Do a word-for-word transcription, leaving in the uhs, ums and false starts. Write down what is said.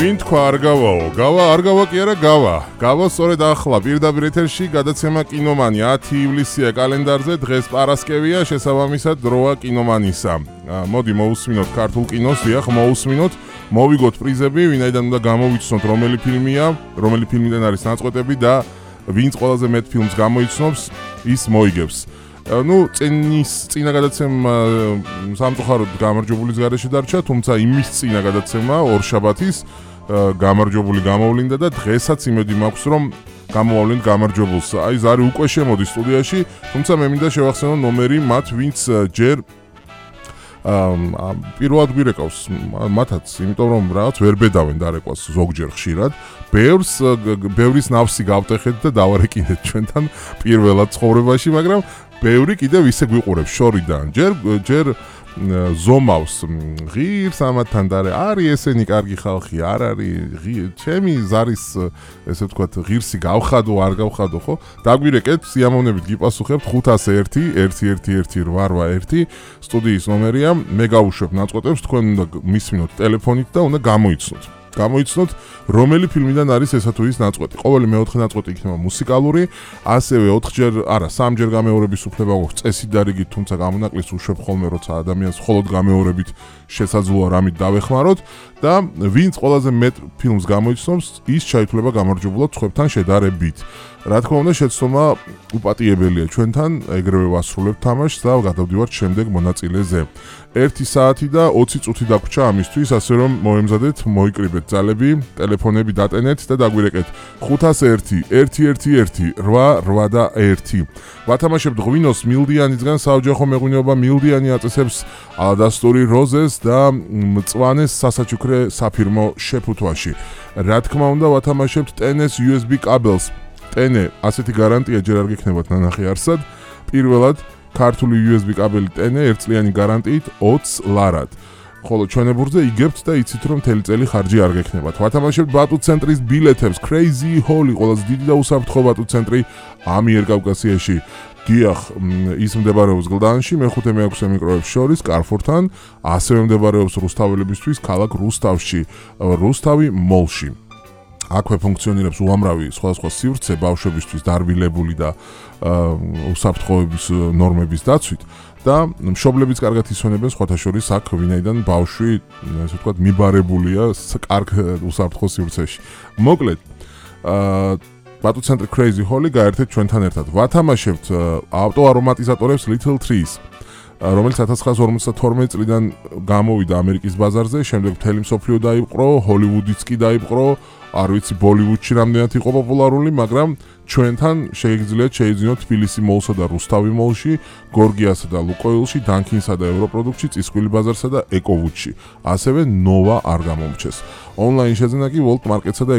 ვინ თქვა არ გავაო? გავა არ გავა კი არა გავა. გავა სწორედ ახლა პირდაპირ ეთერში გადაცემა კინომანი ათი ივლისია კალენდარზე, დღეს პარასკევია, შესაბამისად დროა კინომანისა. მოდი მოусმინოთ ქართულ კინოს, დიახ, მოусმინოთ, მოვიგოთ პრიზები, ვინაიდან უნდა გამოვიცნოთ რომელი ფილმია, რომელი ფილმიდან არის ნაწყვეტები და ვინც ყველაზე მეტ ფილმს გამოიცნობს, ის მოიგებს. Ну, წინის წინა გადაცემა სამწუხაროდ გამარჯვებულის გარეშე დარჩა, თუმცა იმის წინა გადაცემა ორშაბათის გამარჯვებული გამოვლინდა და დღესაც იმედი მაქვს, რომ გამოვავლინთ გამარჯვებულს. აი, ზარი უკვე შემოდის სტუდიაში, თუმცა მე მინდა შევახსენო ნომერი მათ, ვინც ჯერ აა პირველად გვირეკავს მათაც, იმიტომ რომ რაღაც ვერ ბედავენ დარეკვას ზოგჯერ ხშირად. ბევრს ბევრის ნავსი გავტეხეთ და დავარეკინეთ ჩვენთან პირველად ცხოვრებაში, მაგრამ ბევრი კიდევ ისე გვიყურებს შორიდან. ჯერ ჯერ ზომავს ღირს ამათთან და არის ესენი კარგი ხალხი, არ არის ჩემი ზარის ესე ვთქვათ ღირსი გავხადო, არ გავხადო, ხო? დაგვირეკეთ, სიამოვნებით გიპასუხებთ ხუთასი ერთი ერთი ერთი ერთი რვა ერთი სტუდიის ნომერია. მე გავუშვებ ნაწყვეტებს, თქვენ უნდა მისმინოთ ტელეფონით და უნდა გამოიცნოთ. გამოიცნოთ რომელი ფილმიდან არის ესა თუ ის ნაწყვეტი. ყოველი მეოთხე ნაწყვეტი იქნება მუსიკალური, ასევე ოთხჯერ, არა, სამჯერ გამეორების უფლება გვაქვს წესით და რიგით, თუმცა გამონაკლისს უშვებ ხოლმე, როცა ადამიანს მხოლოდ გამეორებით შესაძლოა რამით დავეხმაროთ და ვინც ყველაზე მეტ ფილმს გამოიცნობს, ის ჩაითვლება გამარჯვებულად სხვებთან შედარებით. რა თქმა უნდა, შეცდომა უპატიებელია ჩვენთან, ეგრევე ვასრულებთ თამაშს და გადავდივართ შემდეგ მონაწილეზე. ერთი საათი და ოცი წუთი დაგვრჩა ამისთვის, ასე რომ მოემზადეთ, მოიკრიბეთ ძალები, ტელეფონები დატენეთ და დაგვირეკეთ ხუთასი ერთი ერთი ერთი ერთი რვა რვა ერთი. ვათამაშებთ ღვინოს მილდიანისგან, საოჯახო მეღვინეობა მილდიანი აწესებს ალადასტური როზეს და მწვანეს სასაჩუქრე საფირმო შეფუთვაში. რა თქმა უნდა, ვათამაშებთ ტენეს იუ ეს ბი კაბელს. ტენე, ასეთი გარანტია ჯერ არ გექნებათ ნანახი არსად. პირველად ქართული იუ ეს ბი კაბელი ტენე ერთწლიანი გარანტიით ოცს ლარად. ხოლო ჩვენებურზე იგებთ და იცით რომ მთელი წელი ხარჯი არ გექნებათ. ვათამაშებთ ბატუ ცენტრის ბილეთებს, Crazy Holly, ყველაზე დიდი და უსაფრთხო ბატუ ცენტრი ამიერკავკასიაში. დიახ, ის მდებარეობს გლდანში, მეხუთე მეექვსე მიკროებს შორის, კარფორთან, ასევე მდებარეობს რუსთაველებისთვის ქალაქ რუსთავში, რუსთავი მოლში. აქვე ფუნქციონირებს უამრავი სხვადასხვა სივრცე ბავშვებისთვის დარბილებული და უსაფრთხოების ნორმების დაცვით და მშობლებიც კარგად ისვენებენ სხვათა შორის აქ, ვინაიდან ბავშვი, ასე ვთქვათ, მიბარებულია კარგ უსაფრთხო სივრცეში. მოკლედ, აა ბატუ ცენტრი Crazy Holly გაერთეთ ჩვენთან ერთად. ვათამაშებთ ავტოარომატიზატორებს Little Trees, რომელიც ათას ცხრაასი ორმოცდათორმეტი წლიდან გამოვიდა ამერიკის ბაზარზე, შემდეგ მთელი მსოფლიო დაიპყრო, ჰოლივუდიც კი დაიპყრო, არ ვიცი ბოლივუდში რამდენად იყო პოპულარული, მაგრამ ჩვენთან შეგიძლიათ შეიძინოთ თბილისი მოლსა და რუსთავი მოლში, გორგიასა და ლუკოილში, დანკინსა და ევროპროდუქტში, წისქვილი ბაზარსა და ეკოვუდში. ასევე ნოვა არ გამომრჩეს. ონლაინ შეძენა კი World Market-სა და